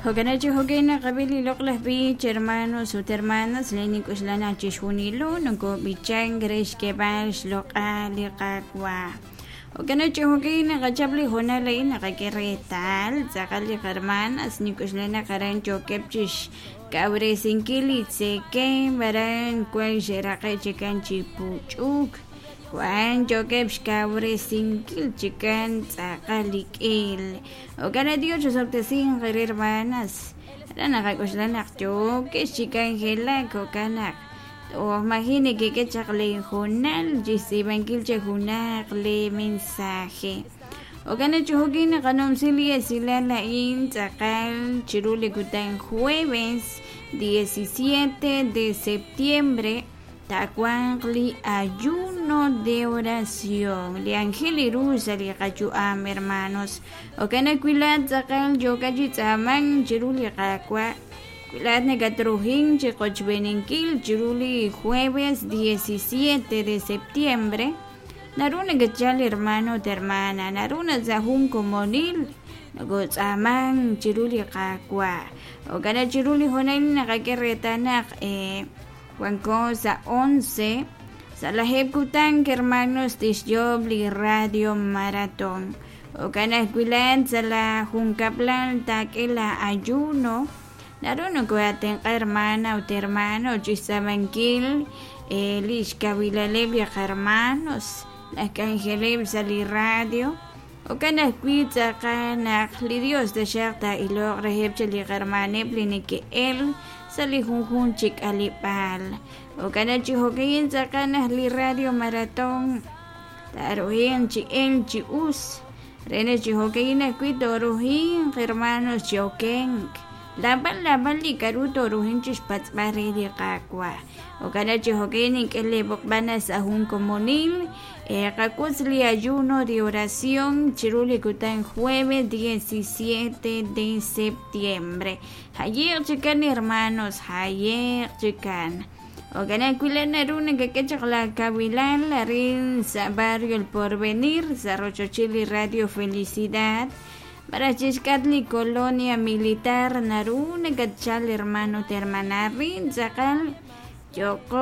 Jo'kan chi jo'kan naqab'i li loq'laj b'ich, hermanos ut hermanas, le nink'oxla naq chixjunilo nokob'ichank re xk'eeb'al xloq'al li Qaawa'. Jo'kan chi jo'kan naqachap li hoonal a'in naqak'e reetal tz'aqal li qarmanas nink'oxla naq aran yookeb' chixkawresinkil li tzekemq aran wan xe'raqe' chikan chi puch'uk, wan yookeb' xkawresinkil chikan tz'aqal li k'il. Jo'kan naq Dios chisob'tesinq eere hermanas, aran naqak'oxla naq yookex chi k'anjelak jo'kan naq toj maji' nekek'e chaq lee hoonal chixtz'iib'ankil chi junaq lee mensaje. Jo'kan naq chi jo'kin naqanumsi li esilal a'in tz'aqal chiru li kutan jueves 17 de septiembre taawanq li ayuno de oración, li anjel ru sa' li qayu'am, hermanos. Jo'kan naq wi laa'at tz'aqal yookat chi tz'aamank chiru li Qaawa', wi laa'at nakatruhin chi qochb'eeninkil chiru li jueves 17 de septiembre, naru nakatchal hermano ut hermana, naru naq sa' jun komonil nokotz'aamank chiru li Qaawa'. Jo'kan naq chiru li hoonal naqak'e reetal naq wanko sa' 11, sa' lajeeb' kutan hermanos tixyoob' li radio maratón. Jo'kan ajwi' laa'at sa' la junkab'lal taak'e la ayuno, naru nokohaatenq'a hermana ut hermano chixtz'aamankil li xkawilaleb' li qarmanos laj k'anjeleb' sa' li radio. Jo'kan ajwi' tz'aqal naq li Dios taxaq taa'iloq reheb' chi li qarmaneb' li neke'el sa' li junjunq chi k'aleb'aal. Jo'kan naq chi jo'kan tz'aqal naq li radio maratón taaruhinq chi elk chi us, re naq chi jo'kan ajwi' tooruhinq hermanos chi okenk. Laab'al laab'al li k'a'ru tooruhinq chixpatz'b'al re li Qaawa'. Jo'kan naq chi jo'kan nink'e lee b'oqb'al sa' jun komonil qawotz li ayuno de oración chiru li kutan jueves 17 de septiembre. Jaye'q chikan hermanos, jaye'q chikan. Jo'kan ajwi' laa'at naru nakak'e chaq la kawilal arin sa' barrio El Porvenir, sa' rochochil li Radio Felicidad, malaj chixk'atq li Colonia Militar naru nakatchal hermano ut hermana arin tz'aqal yooqo.